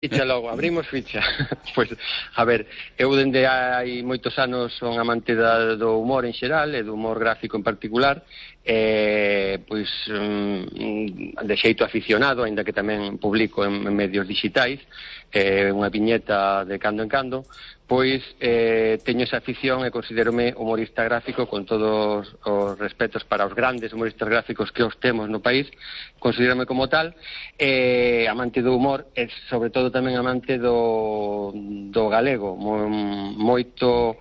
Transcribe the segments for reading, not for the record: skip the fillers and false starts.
Ficha logo, abrimos ficha. Pois, a ver, eu dende hai moitos anos son amante do humor en xeral e do humor gráfico en particular, pois de xeito aficionado, aínda que tamén publico en medios digitais, unha viñeta de cando en cando, pois teño esa afición e considérome humorista gráfico con todos os respetos para os grandes humoristas gráficos que os temos no país, considérome como tal, amante do humor e sobre todo tamén amante do galego, moito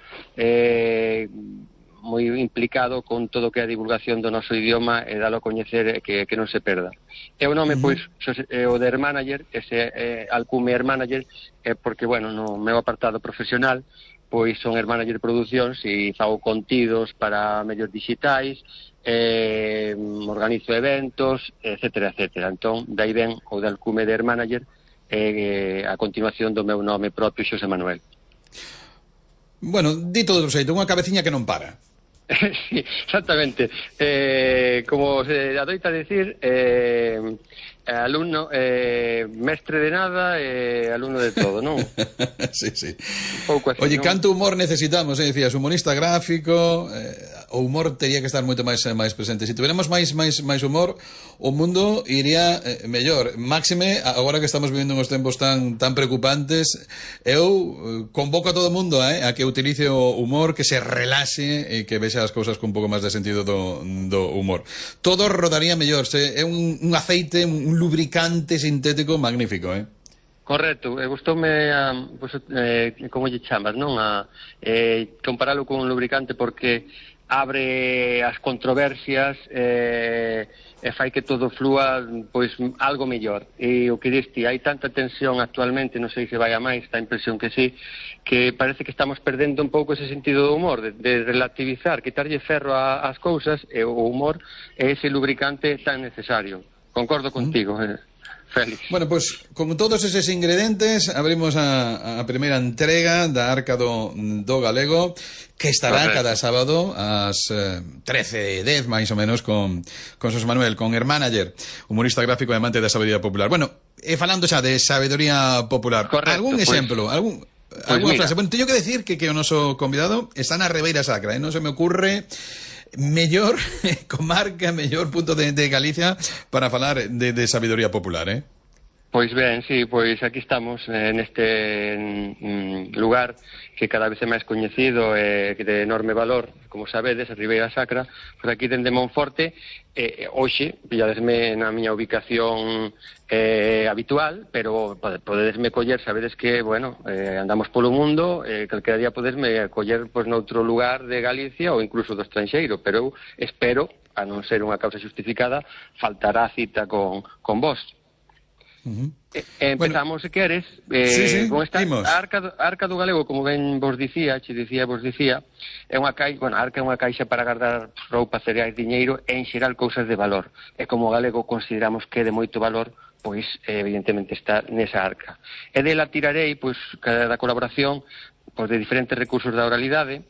moi implicado con todo o que é a divulgación do noso idioma e dalo a coñecer que non se perda. E o nome, pois, o de Hermanager, ese alcume Hermanager, é porque, bueno, no meu apartado profesional, pois son Hermanager Producións e fago contidos para medios digitais, organizo eventos, etcétera, etcétera. Entón, dai ben o de alcume de Hermanager, a continuación do meu nome propio, Xosé Manuel. Bueno, dito de outro xeito, unha cabeciña que non para. Sí, exactamente. Como se adoita decir, alumno, mestre de nada e alumno de todo, non? Sí, sí. Un pouco así, oye, non? canto humor necesitamos, decías, humorista gráfico, o humor tería que estar moito máis presente. Se tuviéramos máis humor, o mundo iría mellor. Máxime, agora que estamos vivindo uns tempos tan preocupantes, eu convoco a todo o mundo a que utilice o humor, que se relaxe e que vexa as cousas con un pouco máis de sentido do humor. Todo rodaría mellor. É un aceite, un lubricante sintético magnífico, Correcto, gustoume pues, como lle chamas, non? Comparalo con un lubricante porque abre as controversias e fai que todo flúa pois algo mellor. E o que diste, hai tanta tensión actualmente, non sei se vai a máis, dá a impresión que sí, que parece que estamos perdendo un pouco ese sentido do humor, de relativizar, quitarlle ferro ás cousas, e o humor é ese lubricante tan necesario. Concordo contigo, Félix. Bueno, pois, con todos eses ingredientes abrimos a primeira entrega da Arca do Galego, que estará cada sábado ás 13:10 máis ou menos con Xosé Manuel, con Hermanager, humorista gráfico e amante da sabedoría popular. Bueno, falando xa de sabedoría popular, correcto, algún exemplo, alguna frase? Bueno, teño que decir que o noso convidado está na Ribeira Sacra, non se me ocurre mellor comarca, mellor punto de Galicia para falar de sabiduría popular, Pois ben, sí, pois aquí estamos neste lugar que cada vez é máis coñecido e que de enorme valor, como sabedes, a Ribeira Sacra, pois aquí dende Monforte, hoxe, pilladesme na miña ubicación habitual, pero podedesme coller, sabedes que, bueno, andamos polo mundo, calquera día podesme coller pois noutro lugar de Galicia ou incluso do estranxeiro, pero eu espero, a non ser unha causa justificada, faltará a cita con vos. Empezamos, se queres, con esta Arca do Galego, como ben vos dicía, é unha caixa, bueno, a arca é unha caixa para guardar roupa, cereais, diñeiro e en xeral cousas de valor. E como o galego consideramos que é de moito valor, pois evidentemente está nesa arca. E dela tirarei, pois, da colaboración pois, de diferentes recursos da oralidade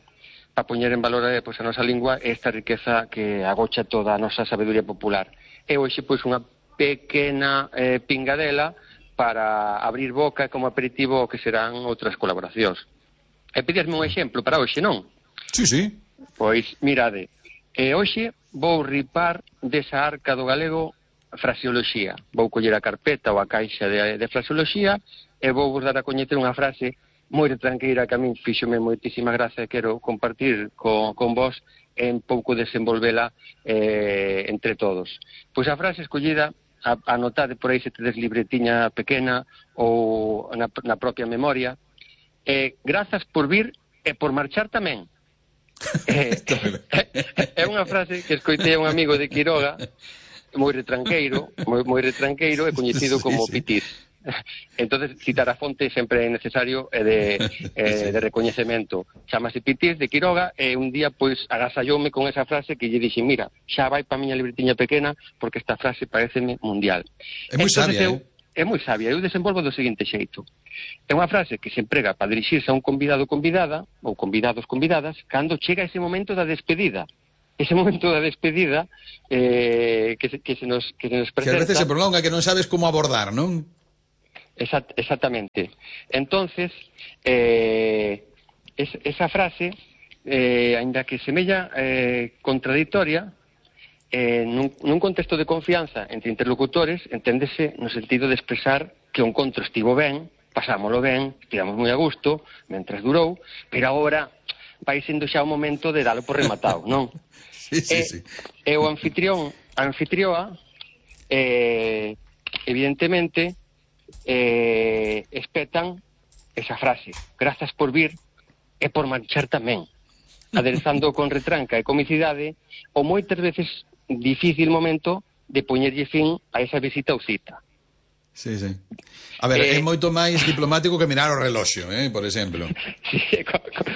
para poñer en valor pois, a nosa lingua e esta riqueza que agocha toda a nosa sabedoría popular. E hoxe, pois, unha pequena pingadela para abrir boca como aperitivo que serán outras colaboracións. E pedíasme un exemplo para hoxe, non? Sí, sí. Pois, mirade, hoxe vou ripar desa Arca do Galego fraseoloxía. Vou coller a carpeta ou a caixa de fraseoloxía e vou vos dar a coñecer unha frase moi retranqueira que a min fíxome moitísima gracia e quero compartir con vos e un pouco desenvolvela entre todos. Pois a frase escollida, anotade por aí se tedes libretiña pequena ou na propia memoria, grazas por vir e por marchar tamén. É unha frase que escoitei a un amigo de Quiroga, moi retranqueiro e coñecido como Pitir. Entonces citar a fonte sempre é necesario de recoñecemento. Chámase Pitir de Quiroga e un día pois agasalloume con esa frase que lle dixen, mira, xa vai pa miña libretiña pequena porque esta frase pareceme mundial. É moi sabia, É moi sabia, eu desenvolvo do seguinte xeito. É unha frase que se emprega para dirixirse a un convidado ou convidada, ou convidados convidadas, cando chega ese momento da despedida. Ese momento da despedida que se nos presenta. Que a veces se prolonga, que non sabes como abordar, non? Exactamente. Entonces, esa frase, ainda que semella contradictoria, nun contexto de confianza entre interlocutores, enténdese no sentido de expresar que o encontro estivo ben, pasámolo ben, estivamos moi a gusto, mentras durou, pero agora vai sendo xa o momento de dalo por rematado, non? Sí. E o anfitrión, a anfitrioa, evidentemente, espetan esa frase, grazas por vir e por marchar tamén, aderezando con retranca e comicidade o moitas veces difícil momento de poñerlle fin a esa visita ou cita. Sí. A ver, é moito máis diplomático que mirar o reloxo, por exemplo. Sí,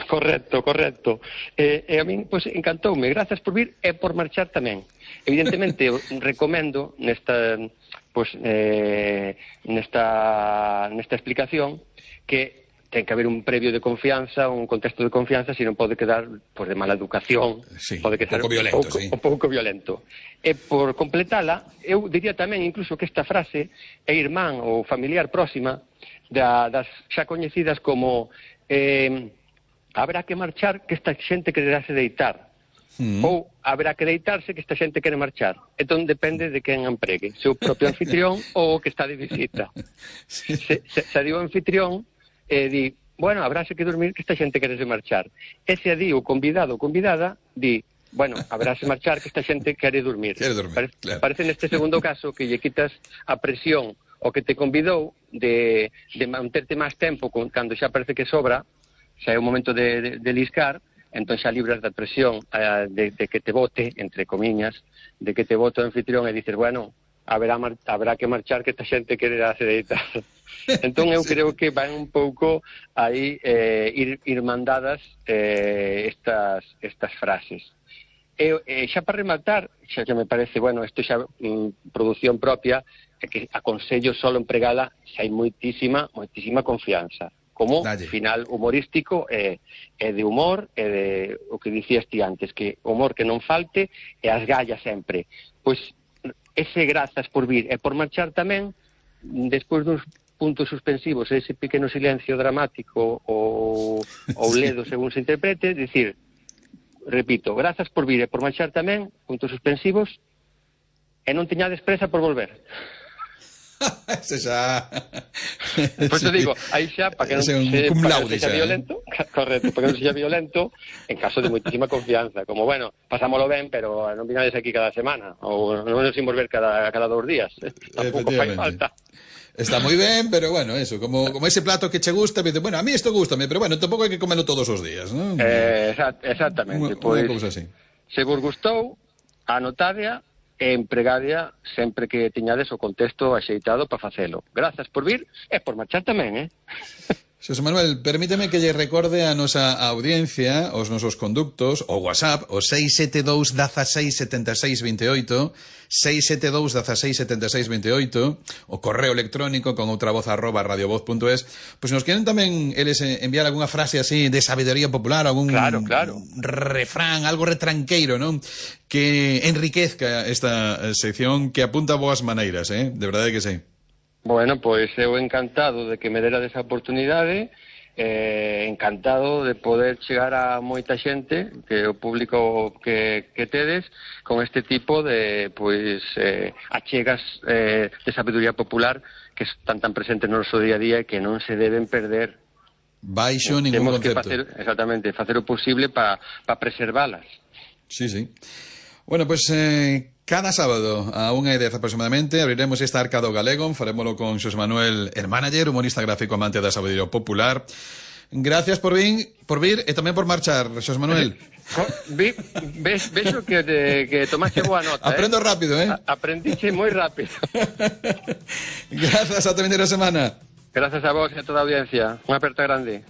correcto. E a min, pois, encantoume. Grazas por vir e por marchar tamén. Evidentemente, recomendo nesta explicación que ten que haber un previo de confianza, un contexto de confianza, se non pode quedar de mala educación, pode quedar un pouco violento. E por completala, eu diría tamén incluso que esta frase é irmán ou familiar próxima das xa coñecidas como habrá que marchar que esta xente quererase deitar, ou habrá que deitarse que esta xente quere marchar. Entón depende de quen empregue, se o propio anfitrión ou o que está de visita. Se digo anfitrión, di, bueno, habráse que dormir que esta xente querese marchar. E se di o convidado ou convidada, di, bueno, habráse marchar que esta xente quere dormir. Claro. Parece neste segundo caso que lle quitas a presión o que te convidou de manterte máis tempo cando xa parece que sobra, xa é o momento de liscar, entón xa libras da presión de que te vote, entre comiñas, de que te vote o anfitrión e dices, bueno, habrá que marchar que esta xente quere deitar. Entón eu creo que van un pouco aí ir mandadas estas frases. E xa para rematar, xa que me parece, bueno, isto xa produción propia, é que aconsello solo empregala xa hai moitísima confianza. Como final humorístico e de humor e de o que dicías ti antes, que humor que non falte e as gallas sempre. Pois ese grazas por vir e por marchar tamén, despois dos puntos suspensivos, ese pequeno silencio dramático ou ledo según se interprete, dicir, repito, grazas por vir e por marchar tamén, puntos suspensivos, e non teñades presa por volver. Ese xa... Pois te digo, aí xa, para que non sexa violento, correcto, para que non sexa violento, en caso de moitísima confianza, como, bueno, pasámolo ben, pero non vinades aquí cada semana, ou non nos imos ver cada 2 días, tampouco fai falta. Está moi ben, pero bueno, eso, como ese plato que che gusta, me dice, bueno, a mí isto gustame, pero bueno, tampouco hai que comerlo todos os días, non? Exactamente, pois, se vos gustou, anotadea e empregadea sempre que teñades o contexto axeitado para facelo. Grazas por vir e por marchar tamén, Xosé Manuel, permíteme que lle recorde a nosa audiencia, os nosos conductos, o WhatsApp, o 672 16 76 28, 672 16 76 28, o correo electrónico con outravoz@radiovoz.es. Pois nos queren tamén eles enviar algunha frase así de sabiduría popular, algún refrán, algo retranqueiro, non? Que enriquezca esta sección, que apunta boas maneiras, de verdade que sí. Bueno, pois eu encantado de que me dera desa oportunidade, encantado de poder chegar a moita xente, que o público que tedes, con este tipo de achegas de sabiduría popular que están tan presentes no noso día a día e que non se deben perder. Baixo ningún concepto. Temos que facer o posible para preservalas. Sí. Bueno, pues cada sábado a 1:10 aproximadamente abriremos esta Arca do Galego, farémolo con Xosé Manuel, el manager, humorista gráfico amante da sabiduría popular. Gracias por vir e tamén por marchar, Xosé Manuel. Vexo que tomaste boa nota. Aprendo rápido, Aprendiche moi rápido. Gracias, ata vindeira semana. Gracias a vos e a toda a audiencia. Unha aperta grande.